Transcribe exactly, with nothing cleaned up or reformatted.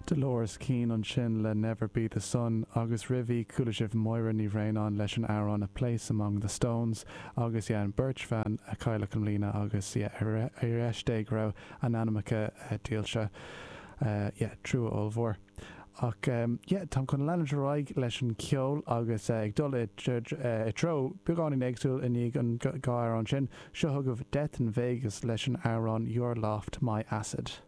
Dolores Keane ansin le Never Be the Sun agus roimhe chuala sibh Máire Ní Bhraonáin leis an amhrán A Place Among the Stones agus yeah, an bheirt bhan a cailleadh i mbliana agus yeah, ar ar dé go raibh a n-anamacha uh, dílse uh, yeah, trua ollmhór. Ach um, yeah, Tá chun leanúint ar aghaidh leis an ceol agus uh, ag dul i treo beagáinín éagsúil i ndiaidh an dhá amhrán sin seo chugaibh Death in Vegas leis an amhrán Your Loft My Acid.